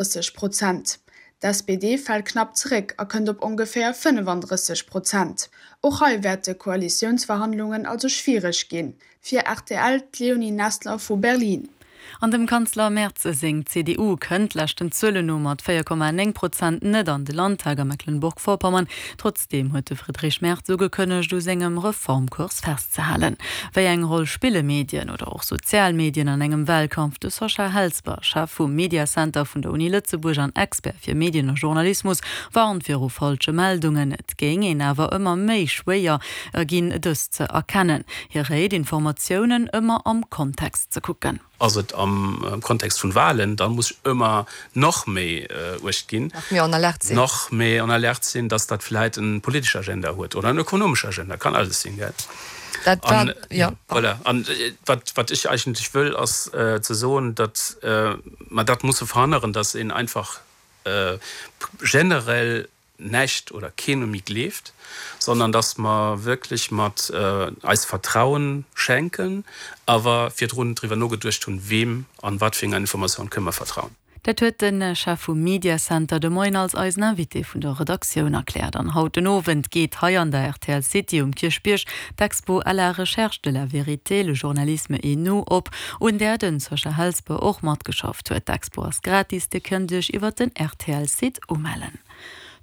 30 Prozent. D'SPD fält knapp zeréck a kënnt op ongeféier 35 Prozent. Och hei wäerte Koalitiounsverhandlungen also schwiereg ginn. Fir rtl d'Leonie Nessler vu Berlin. An dem Kanzler Merz seng CDU kënnt leschten Zuelen no mat 4,9 Prozent net an de Landtag a Mecklenburg-Vorpommern. Trotzdeem huet de Friedrich Merz ugekënnegt, u sengem Reformkurs festzehalen. Wéi eng Roll spille Medien oder och sozial Medien an engem Walkampf? De Sascha Helsper, Chef vum Mediacenter vun der Uni Lëtzebuerg an Expert fir Medien a Journalismus, warnt viru falsche Meldungen. Et géing een awer ëmmer méi schwéier ginn, dës ze erkennen. Hie réit, Informatiounen ëmmer am Kontext ze kucken. Ass et am Kontext vun Wahlen, da muss ech ëmmer nach méi uecht ginn, Nach méi en alerte sinn. Nach méi en alerte sinn, dass dat vläit en politesch Agenda huet oder en ökonomesch Agenda, kann alles sinn, gell? Dat war, jo. Voilà. An wat, wat ech eigentlech wëll, ass ze soen, datt mer dat musse verhënneren, dass een einfach generell näischt oder keen méi gleeft, sondern dass mer wierklech mat eis Vertrauen schenken, awer virdrun driwwer nogeduecht hunn, weem an wat fir enger Informatioun kënne mer vertrauen. Dat huet de Chef vum Media Center de Moien als eisen Invité vun der Redaktioun erkläert. An haut den Owend geet hei an der rtl City um Kierchbierg d'Expo À la recherche de la vérité, le journalisme et nous op, un där de Sascha Helsper och matgeschafft huet. D'Expo ass gratis, Dir kënnt Iech iwwer den RTL-Site umellen.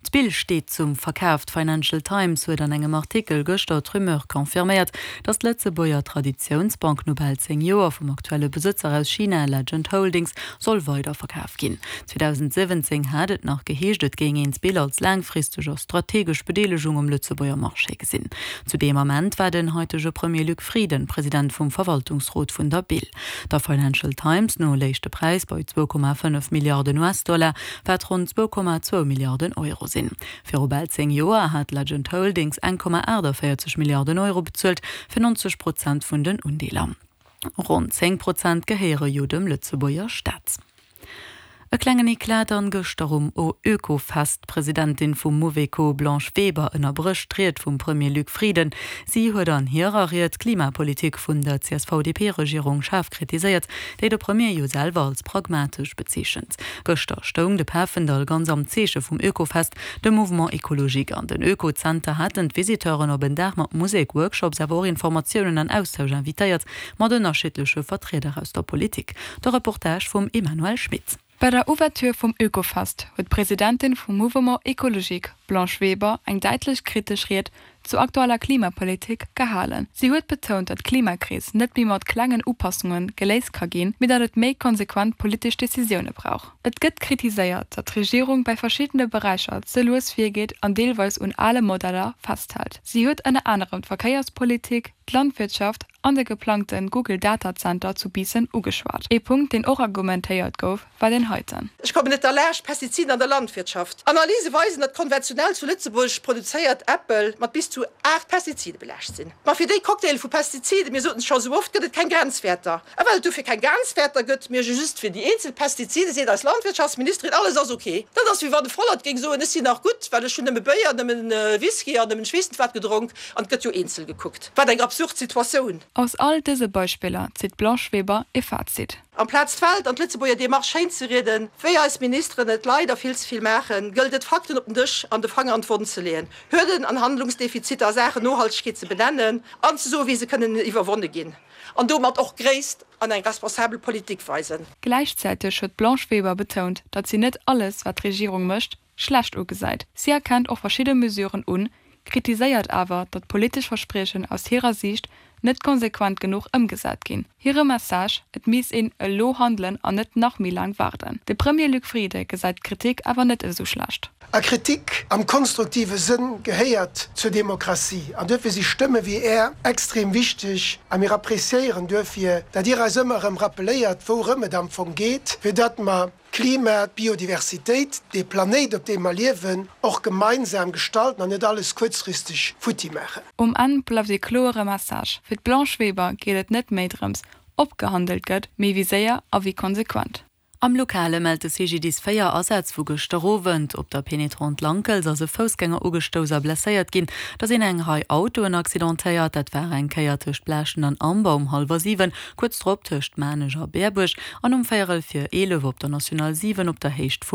D'Bill steet zum Verkaf. D'Financial Times huet an engem Artikel gëschter d'Rumeur confirméiert, datt d'Lëtzebuerger Traditiounsbank no bal 10 Joer vum aktuelle Besëtzer aus China, Legend Holdings, soll weiderverkaf ginn. 2017 hat et nach geheescht, et géing een d'Bill als laangfristeg a strategesch Bedeelegung um Lëtzebuerger Marché gesinn. Zu deem Ament war den haitege Premier Luc Frieden President vum Verwaltungsrot vun der Bill. Der Financial Times no léich de Präis bei 2,5 Milliarden US-Dollar, wat ronn 2,2 Milliarden Euro sinn. Viru bal 10 Joer hat Legend Holdings 1,48 Milliarden Euro bezuelt fir 90 Prozent vun den Undeeler. Ronn 10 Prozent gehéiere jo dem Lëtzebuerger Staat. E klengen Eclat dann gëschter um Oekofest. D'Presidentin vum Mouveco Blanche Weber ënnerbrécht d'Ried vum Premier Luc Frieden. Si huet an hirer Ried d'Klimapolitik vun der CSV-DP-Regierung schaarf kritiséiert, déi de Premier jo selwer als pragmatesch bezeechent. Gëschter stoung de Pafendall ganz am Zeeche vum Oekofest, dem Mouvement Ecologique an den Oekozenter haten d'Visiteuren op en Dag mat Musek, Workshops awer och Informatiounen an Austausch invitéiert. Mat ënnerschiddleche Vertrieder aus der Politik. De Reportage vum Emmanuelle Schmit. Bei der Ouverture vum Oekofest huet d'Presidentin vum Mouvement Ecologique, Blanche Weber, eng däitlech kritesch Ried zur aktueller Klimapolitik gehalen. Si huet betount, datt d'Klimakris net méi mat klengen Upassunge geléist ka ginn, mee datt et méi konsequent politesch Decisioune brauch. Et gëtt kritiséiert, datt d'Regierung bei verschiddene Beräicher ze lues virgeet an deelweis un ale Modeller festhält. Si huet ënner anerem d'Verkéierspolitik, d'Landwirtschaft an de geplangte Google Data Center zu Biissen ugeschwat. Ee Punkt, deen och argumentéiert gouf, war deen heiten. Ech kommen net derlaascht, Pestiziden an der Landwirtschaft. Analyse weisen, datt konventionell zu Lëtzebuerg produzéiert Äppel mat bis zu 8 Pestizide belaascht sinn. Ma fir déi Cocktaile vu Pestiziden, mir soten et scho sou oft, gëtt et keng Grenzwäerter. A well et dofir keng Grenzwäerter gëtt, mee just fir déi eenzel Pestizide, seet eis Landwirtschaftsministerin, alles ass ok. Dat ass wéi wann de Vollert géing soen, ech sinn nach gutt, well ech hunn nëmme Béier, nëmmen Whisky an nëmmen ech weess net wat gedronk. An et gëtt jo eenzel gekuckt. Wat eng absurd Situatioun! Aus all dëse Beispiller zitt d'Blanche Weber e Fazit. Amplaz d'Welt an d'Lëtzebuerger Demarche schéin ze rieden, wéi eis Ministeren et leider vill ze vill maachen, gëllt et Fakten op den Dësch an de Fanger an d'Wonn ze leeën, Hürden an Handlungsdefiziter a Saachen Nohaltegkeet ze benennen an ze soen, wéi se kënnen iwwerwonne ginn an domat och Gréisst an eng responsabel Politik weisen. Gläichzäiteg huet d'Blanche Weber betount, datt si net alles, wat d'Regierung mécht, schlecht ugesäit. Si erkennt och verschidde Mesuren un, kritiséiert awer, datt politesch Verspriechen aus hirer Siicht net konsequent genuch ëmgesat ginn. Hire Message, Et misst een elo handelen an net nach méi laang waarden. De Premier Luc Frieden gesäit d'Kritik awer net esou schlecht. A Kritik am konstruktive Sënn gehéiert zur Demokratie. An duerfir si Stëmme wéi Är extrem wichteg. A mir appréciéieren duerfir, datt Dir eis ëmmer erëm rappeléiert, wourëm et am Fong geet, fir datt mer d'Klima, d'Biodiversitéit, dee Planéit, op deem mer liewen, och gemeinsam gestalten an net alles kuerzfristeg futti maachen. Um Enn bleift ee kloere Message, Fir d'Blanche Weber geet et net méi drëms, ob gehandelt gëtt, mee wéi séier a wéi konsequent. Am Lokale mellt de CGDIS 4 Asätz vu gëschter Owend. Op der Pénétrante Lankels ass e Foussgänger ugestouss a blesséiert ginn. Da sinn eng Rei Autoen accidentéiert. Dat war eng Kéier tëscht Blaaschen an Amber um hallwer 7, kuerz drop tëscht Maarnech a Berbuerg an um véierel vir 11 op der National 7 op der Héicht vu.